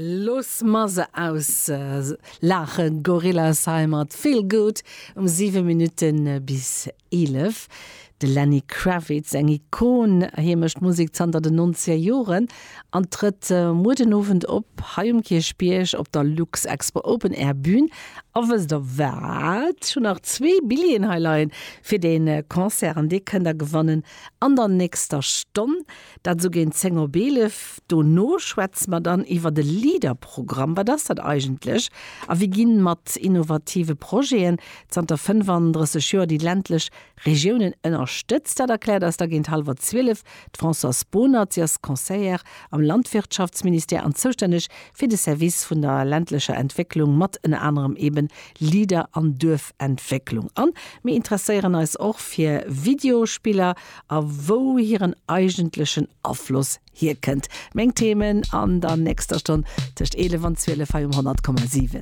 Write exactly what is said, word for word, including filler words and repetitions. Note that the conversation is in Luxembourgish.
Looss mer se auslaachen, Gorillaz hei mat Feel Good um siwe Minutte bis eelef. De Lenny Kravitz, eng Ikon, hie mécht Musek zanter den nonzeger Joren an trëtt muer den Owend op hei um Kierchbierg op der Luxexpo Open Air Bün. A wësst der wat? Ech hunn nach zwee Billjeeën hei leien fir dee Concert an déi kënnt der gewannen an der nächster Stonn, dat sou géint zéng op eelef. Dono schwätze mer dann iwwer de Leader-Programm. Wat ass dat eigentlech a wéi ginn mat innovative Projeten zanter fënnefandrësseg Joer déi ländlech Regiounen ënnerstëtzt? Dat erkläert eis da géint hallwer zwielef d'Françoise Bohnert. Si ass Conseillère am Landwirtschaftsministère an zoustänneg fir de Service vun der ländlecher Entwécklung, mat ënner anerem eben Leader an Duerfentwécklung. An mir interesséieren eis och fir Videospiller a wou hiren eigentlechen Afloss hierkënnt. Meng Themen an der nächster Stonn tëscht eelef an zwielef hei um honnert Komma siwen.